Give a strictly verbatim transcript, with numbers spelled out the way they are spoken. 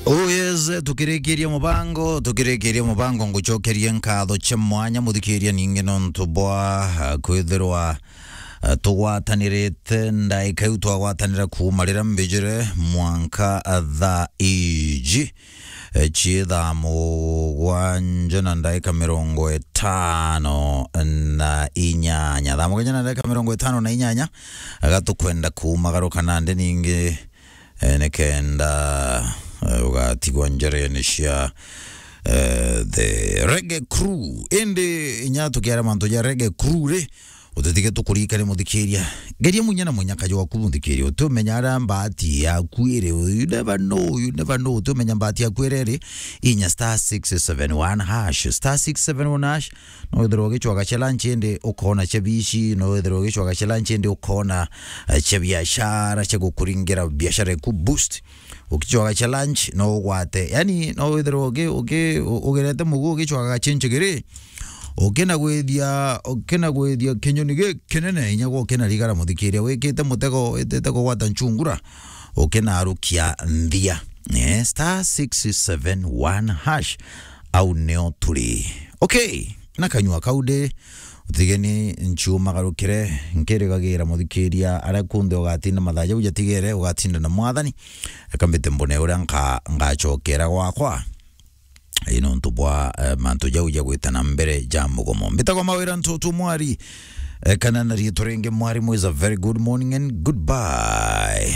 Oh yes, tukirikiria mubango, tukirikiria mubango, ngucokerie nkatho cia mwanya muthikiria ningi nontu bwa, ah, kwithirwa, ah, tugwatanirite ndaika iu twagwatanira kuuma riria mbijire mwanka, ah, thaa iji, eh, cii thaa mugwanja na ndaika mirongo itano na inyanya. Thaa mugwanja na ndaika mirongo itano na inyanya, aga tukwenda kuumagaruka nandi ningi, eh, nikenda, eh, ugatigwa njerene cia, eh, the Reggae Crew. Indi inya tukiara mantu ja Reggae Crew ri, utitige tukuririkane muthikiria. Geria munya na munyaka jwaku muthikiria. Utumenya aria mbati yaku iri. You never know, you never know. Utumenya mbati yaku iri iri. Inya star six seven one hash. Star six seven one hash. No withirwe ugicwaga cia lunch indi ukona cia bici, no withirwe ugicwaga cia lunch indi ukona, eh, cia biashara, cia gukuringira biashara iku boost. Ugicwaga cia lunch, no ugwate. Yani, no withirwe ugi-, ugi-, u-, ugerete mugu ugicwaga cia njigiri. Ukina gwithia, ukina gwithia kinyoni gikinene, inya gwa ukina rigara muthikiria, wikite mutego, witite kugwata nchungura, ukina arukia nthia. Eh, star six seven one hash. Au nio turi. Okay, na kanyua kau ndi, utigeni nchiumagarukire, nkirigagira muthikiria aria kunthe ugatinda mathaa jau jatigere, ugatinda na Mwathani. Eka mbite mbone uria nka-, ngacokera gwakwa. Ii nontu bwa, eh, mantu jau ja gwita na mbere ja mugomo. Mbitagwa Mawira Ntutu Mwari, eh, kana na riitwa ringi Mwarimu is a very good morning and goodbye.